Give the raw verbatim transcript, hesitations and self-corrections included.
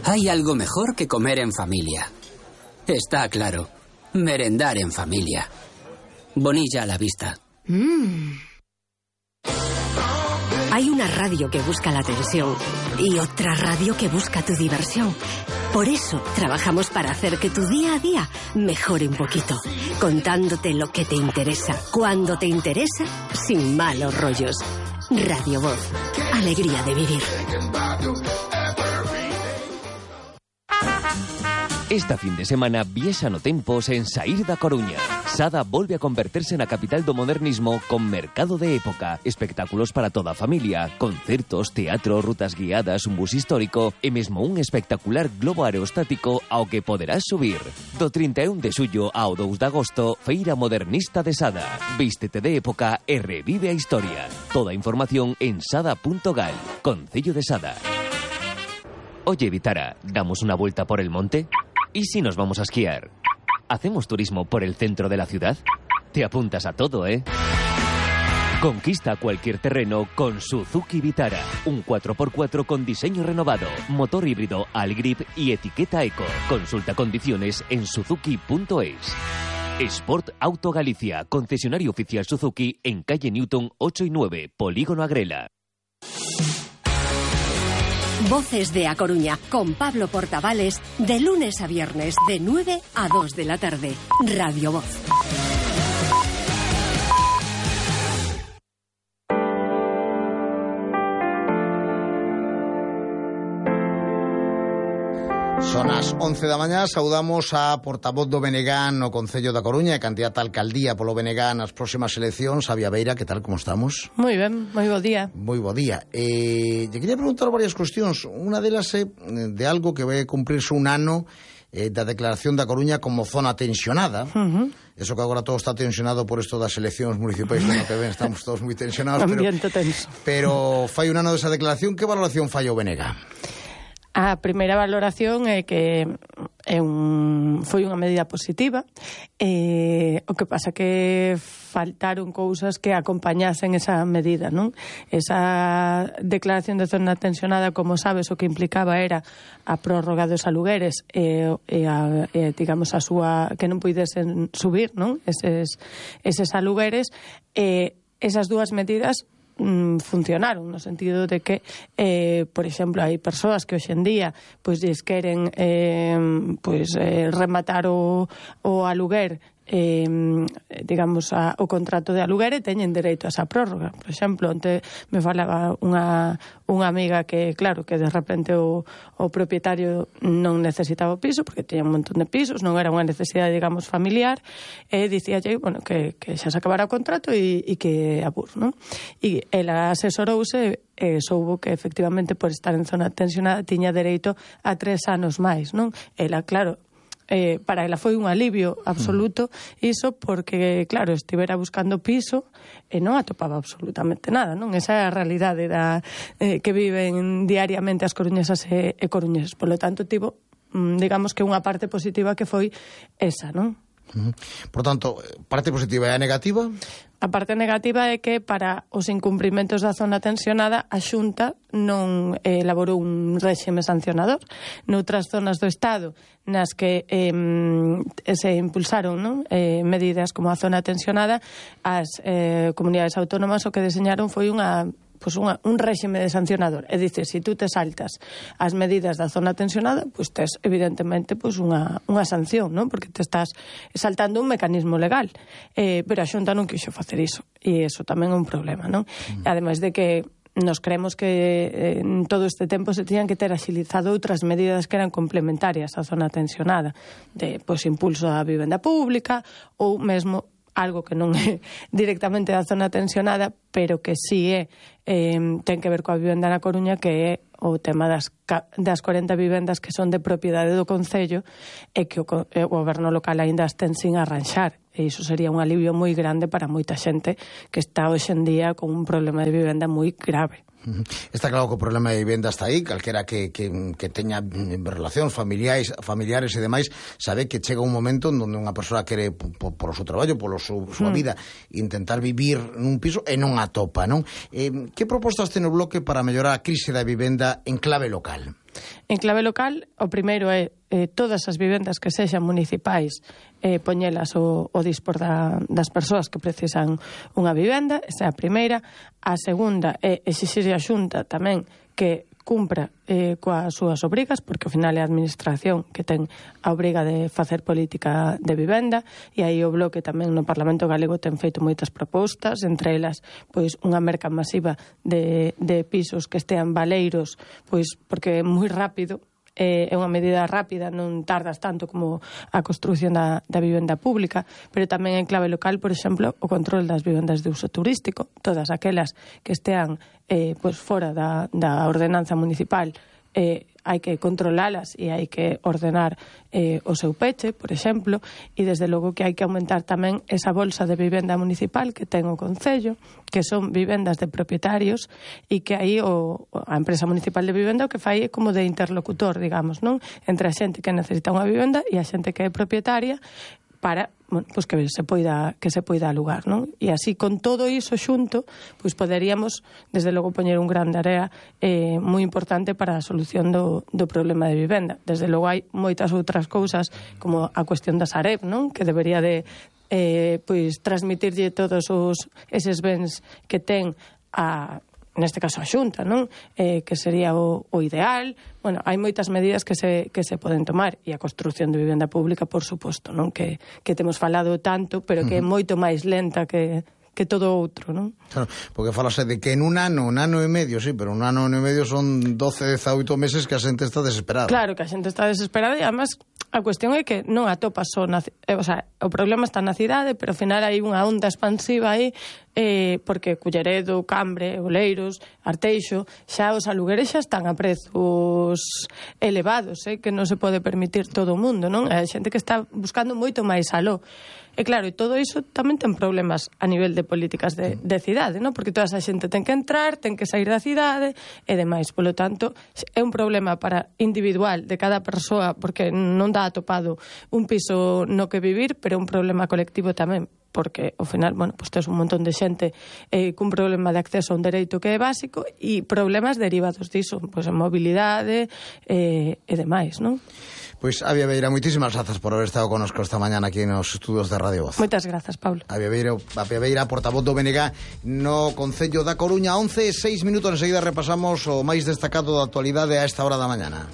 Hay algo mejor que comer en familia. Está claro. Merendar en familia. Bonilla a la vista. Mm. Hay una radio que busca la atención y otra radio que busca tu diversión. Por eso trabajamos para hacer que tu día a día mejore un poquito, contándote lo que te interesa, cuando te interesa, sin malos rollos. Radio Voz. Alegría de vivir. Esta fin de semana viexan o tempos en Saír da Coruña. Sada volve a converterse na capital do modernismo con mercado de época, espectáculos para toda a familia, concertos, teatro, rutas guiadas, un bus histórico e mesmo un espectacular globo aerostático ao que poderás subir. Do trinta e un de xullo ao dous de agosto, Feira Modernista de Sada. Vístete de época e revive a historia. Toda a información en sada punto gal. Concello de Sada. Oye, Vitara, ¿damos una vuelta por el monte? ¿Y si nos vamos a esquiar? ¿Hacemos turismo por el centro de la ciudad? Te apuntas a todo, ¿eh? Conquista cualquier terreno con Suzuki Vitara. Un cuatro por cuatro con diseño renovado, motor híbrido Allgrip y etiqueta Eco. Consulta condiciones en suzuki punto es. Sport Auto Galicia, concesionario oficial Suzuki en calle Newton ocho y nueve, Polígono Agrela. Voces de A Coruña, con Pablo Portavales, de lunes a viernes, de nueve a dos de la tarde. Radio Voz. Son as once da mañá, saudamos a portavoz do B N G no Concello da Coruña e candidata a alcaldía polo B N G nas próximas eleccións, Xavi Beira. Que tal, como estamos? Moi ben, moi bo día. Moi bo día. Eh, lle quería preguntar varias cuestións. Unha delas é de algo que vai cumprirse un ano eh, da declaración da Coruña como zona tensionada. Uh-huh. Eso que agora todo está tensionado por isto das eleccións municipais do ano que ven, estamos todos moi tensionados. Ambiente pero, tenso. Pero fai un ano desa declaración, que valoración fai o B N G? A primeira valoración é que é un, foi unha medida positiva. Eh, o que pasa que faltaron cousas que acompañasen esa medida, non? Esa declaración de zona tensionada, como sabes, o que implicaba era a prórroga dos alugueres e, e, a, e digamos, a súa que non puidesen subir, non? Eses, eses alugueres. E esas dúas medidas funcionaron, no sentido de que eh, por exemplo, hai persoas que hoxe en día pois lles queren eh, pois, eh, rematar o, o aluguer, eh, digamos, a, o contrato de aluguer, e teñen dereito a esa prórroga. Por exemplo, onte me falaba unha, unha amiga que, claro, que de repente o, o propietario non necesitaba o piso, porque teña un montón de pisos, non era unha necesidade, digamos, familiar, e dicíalle, bueno, que, que xa se acabara o contrato e, e que abur, non? E ela asesorouse e soubo que efectivamente por estar en zona tensionada tiña dereito a tres anos máis, non? Ela, claro, Eh, para ela foi un alivio absoluto iso, porque, claro, estivera buscando piso e non atopaba absolutamente nada, non? Esa é a realidade da, eh, que viven diariamente as coruñesas e, e coruñeses. Por lo tanto, tivo, digamos que unha parte positiva que foi esa, non? Uh-huh. Por tanto, parte positiva e a negativa? A parte negativa é que para os incumprimentos da zona tensionada a Xunta non eh, elaborou un réxime sancionador. Noutras zonas do Estado nas que eh, se impulsaron, non? Eh, medidas como a zona tensionada, as eh, comunidades autónomas o que deseñaron foi unha pues unha, un réxime de sancionador. É dicir, se si tú te saltas as medidas da zona tensionada, pues tes, evidentemente, pues unha, unha sanción, non? Porque te estás saltando un mecanismo legal. Eh, pero a Xunta non quixo facer iso. E iso tamén é un problema, non? Mm. Ademais de que nos creemos que eh, en todo este tempo se tiñan que ter axilizado outras medidas que eran complementarias á zona tensionada, de, pues, impulso á vivenda pública ou mesmo algo que non é directamente da zona tensionada, pero que sí é, eh, ten que ver coa vivenda na Coruña, que é o tema das, das corenta vivendas que son de propiedade do Concello e que o, o goberno local aínda as ten sin arranxar. E iso sería un alivio moi grande para moita xente que está hoxe en día con un problema de vivenda moi grave. Está claro que o problema de vivenda está aí. Calquera que, que, que teña relacións familiares, familiares e demais sabe que chega un momento onde unha persoa quere por, por o seu traballo, polo súa mm. vida, intentar vivir nun piso e non atopa, non? Eh, que propostas ten o Bloque para mellorar a crise da vivenda en clave local? En clave local, o primeiro é eh, todas as vivendas que sexan municipais eh, poñelas o, o dispor da, das persoas que precisan unha vivenda, esa é a primeira. A segunda é exixir a Xunta tamén que cumpra eh, coas súas obrigas, porque ao final é a administración que ten a obriga de facer política de vivenda, e aí o Bloque tamén no Parlamento Galego ten feito moitas propostas, entre elas pois unha merca masiva de, de pisos que estean valeiros, pois porque é moi rápido, é unha medida rápida, non tardas tanto como a construción da, da vivenda pública, pero tamén en clave local, por exemplo, o control das vivendas de uso turístico, todas aquelas que estean eh, pues fora da, da ordenanza municipal, eh, hai que controlalas e hai que ordenar eh, o seu peche, por exemplo, e desde logo que hai que aumentar tamén esa bolsa de vivenda municipal que ten o Concello, que son vivendas de propietarios, e que aí o, a empresa municipal de vivenda o que fai é como de interlocutor, digamos, non? Entre a xente que necesita unha vivenda e a xente que é propietaria, para, bueno, pues que se poida que se poida alugar, non? E así con todo iso xunto, pois poderíamos desde logo poñer un gran área eh, moi importante para a solución do, do problema de vivenda. Desde logo hai moitas outras cousas como a cuestión da Sareb, non? Que debería de eh, pois transmitirlle todos os eses bens que ten a neste caso a Xunta, non? Eh, que sería o, o ideal. Bueno, hai moitas medidas que se, que se poden tomar, e a construción de vivenda pública, por suposto, non? Que, que temos falado tanto, pero que é moito máis lenta que, que todo outro, non? Claro, porque falase de que en un ano, un ano e medio, sí, pero un ano e medio son doce, dezaoito meses que a xente está desesperada. Claro, que a xente está desesperada, e además a cuestión é que non atopas só na, eh, o sea, o problema está na cidade, pero ao final hai unha onda expansiva aí, eh, porque Culleredo, Cambre, Oleiros, Arteixo, xa os alugueres xa están a prezos elevados, eh, que non se pode permitir todo o mundo, non? Hai xente que está buscando moito máis aló. E claro, e todo iso tamén ten problemas a nivel de políticas de, de cidade, non? Porque toda esa xente ten que entrar, ten que sair da cidade e demais. Polo tanto, é un problema para individual de cada persoa, porque non dá atopado un piso no que vivir, pero un problema colectivo tamén, porque ao final, bueno, pues tes un montón de xente eh, cun problema de acceso a un dereito que é básico e problemas derivados diso, pues a mobilidade eh, e demais, non? Pois, Avia Veira, moitísimas grazas por haber estado conosco esta mañana aquí nos estudos de Radio Voz. Moitas grazas, Paulo. Avia Veira, Avia Veira, portavoz do B N G no Concello da Coruña. Once e seis minutos, enseguida repasamos o máis destacado da actualidade a esta hora da mañana.